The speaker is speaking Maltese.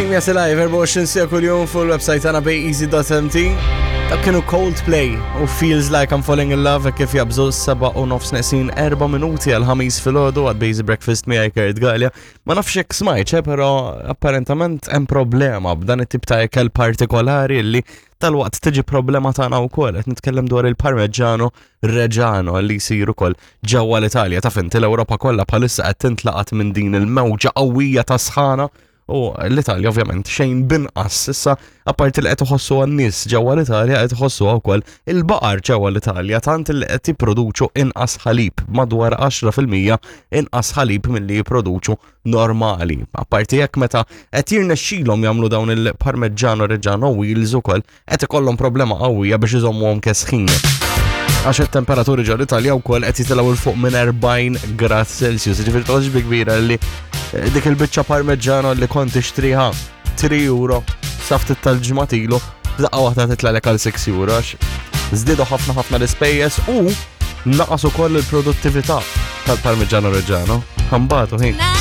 Streamja live 24 sija kuljum fuq il-website tagħna bayeasy.mt. Dak kienu Coldplay u Feels Like I'm Falling in Love kif jabżu 7 u nofs neqsin 4 minuti għal ħamis filgħodu għad Bazy Breakfast miegħi Kurt Gallia. Ma nafx jekk smajt, eh, però apparentament hemm problema b'dan it-tip ta' ikel partikolari li tal-waqt tiġi problema tagħna wkoll qed nitkellem dwar il-Parmigiano Reggiano li jsir ukoll ġewwa l-Italja. Taf inti l-Ewropa kollha bħalissa qed tintlaqat minn din il-mewġa qawwija ta' sħana u l-Italja ovvjament xejn binqas. Issa apparti li qed iħossu għan-nies ġewwa l-Italja qed iħossu wkoll il-baqar ġewwa l-Italja tant li qed jipproduċu inqas ħalib madwar 10% inqas ħalib milli jipproduċu normali. Apparti jekk meta qed jirnexxilhom jagħmlu dawn il-Parmigiano Reggiano wheels ukoll qed ikollhom problema qawwija biex iżommuhom kesħin. Għax it-temperaturi ġol Italja wkoll qed jitilgħu 'l fuq minn 40 grad Celsius, ġifieri toqgħodx bi kbira li eh, dik il-biċċa parmeġġano li kont tixtriha 3 euro sa ftit tal-ġimgħat ilu, daqqa waħda titlaqlek għal 6 euro għax żdiedu ħafna ħafna l-ispejjeż u naqas ukoll il-produttività tal-Parmigiano Reggiano. Ħambatu ħin.